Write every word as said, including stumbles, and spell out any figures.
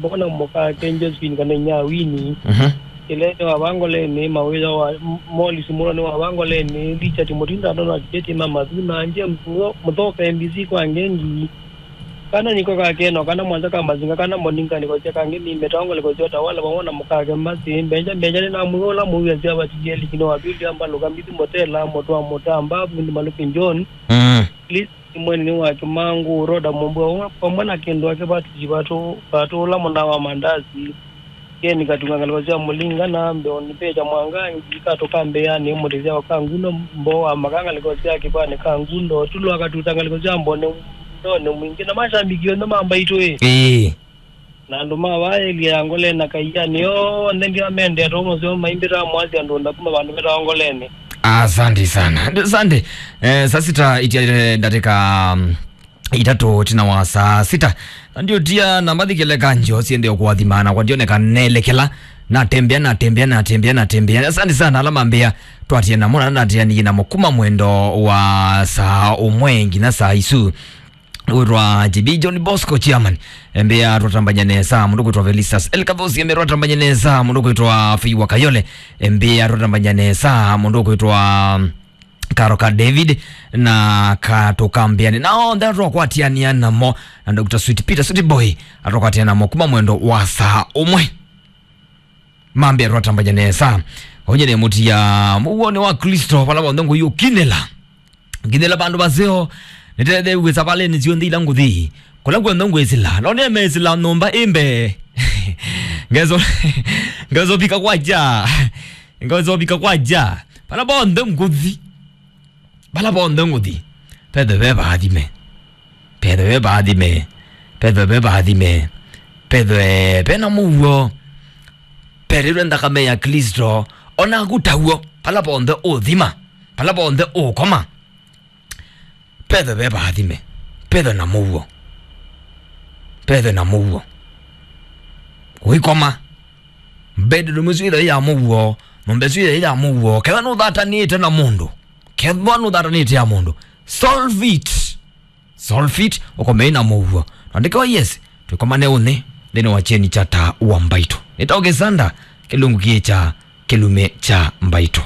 Mbona mũkake Josephine kana inya Winnie. Mhm. Kĩlene wa Vangoleni, Mawĩya wa M-, Morris Mũloni wa Vangoleni, Richard Mũtinda, Donald Kĩtima, Mathuna, James Mũtho-, Mũthoka, M B C kwa Ngengi. Kana niko kakeno, kana Mwanza ka Mazinga, kana Moninga niko cia kangi mime, tango niko cia Tawala, vamwe na mũkake Mbasi, Mbenja, Mbenja nĩ na mũyo ũla mũwia cia vatilieli kino wa Biblia, Mbaluka, Mbithi, Motela, Motwa, Motamba, Vundi, Maluki, John. Mm. Please, Simoni nĩ wa Kĩmangũ, Roda Mũmbua, vamwe na kĩndũ ake Patrick Vatũ, Vatũ ũla mũna wa mandasi. Keni Katunga ngalĩko sya Mũlinga na Mbeoni Pecha Mwangangi, Katũ ka Mbeanĩ, Mũtĩsya wa Kangundo, Mboo wa Maka ngalĩko sya Kĩpanĩ Kangundo, Tulu akatuta ngalĩko sya Mbone, Ndone Mwingĩ, na mashabiki onthe ma Mbaitũ ĩ. Ĩĩ. Na andũ ma vaa ĩlya ya Ngoleni na Kaiani onthe ndĩamendea too mũseo maimbĩtaa mwasi andũ nda kuma vandũ vetawa Ngoleni. Asante sana. Asante. Eh, saa sita itialile ndatĩka, mm, itatũ tina wa saa sita. Na ndio tia na mathikile kanjo siende kuathimana kwa ndioneka nelekela. Natembea, natembea, natembea, natembea. Asante sana ala mambia twatie namo na natianie namo kuma mwendo wa saa ũmwe nginya saa isu. Wĩtwa J B John Bosco Chairman, embea twatambanya nesa, mũndũ kwĩtwa Felistas Elkathosi, embea twatambanya nesa, mũndũ kwĩtwa Feiwa Kayole, embea twatambanya nesa, mũndũ kwĩtwa Karo ka David, na Katũ ka Mbeanĩ, na onthe atwakwatiania namo, na Doctor Sweet Peter, Sweet Boy, atwakwatiania namo kuma mwendo wa saa ũmwe. Mambĩa twatambanya nesa. Onye nĩ mũtia mũuonĩ wa Kristo, vala vonthe ngũi ũkinĩla. Nginĩla vandũ vaseo, nĩtethew'e savalĩnĩ syonthe ila ngũthi. Kũla kw'onthe ngwĩsĩla, no nĩmeĩsĩla nyũmba ĩ mbee. Ngeso, ngeso vika kwa ja. Ngeso vika kwa ja. Vala vonthe ngũthi. Vala vonthe ngũthi. Pethe ve vaathime. Pethe ve vaathime. Pethe ve vaathime. Pethe ve na mũuo. Perĩrwe nthakame ya Kristo. Ona kutaw'o. Vala vonthe ũthima. Vala vonthe ũkoma. Pethe ve vaathime. Pethe na mũuo. Pethe na mũuo. Ũikoma. Bedroom ĩsu ĩthe ya mũuo. Nyũmba ĩsu ĩthe ya mũuo. Kethwa nũthatanĩte na mũndũ. Kethwa nũthatanĩte ya mũndũ. Solve it. Solve it. Ũkomei na mũuo. Andĩkewa yes. Tũikomane ũnĩ. Nthĩnĩ wa cheni cha taa wa Mbaitũ. Nĩtaũkĩsanda. Kĩlungu kĩĩ cha kĩlume cha Mbaitũ.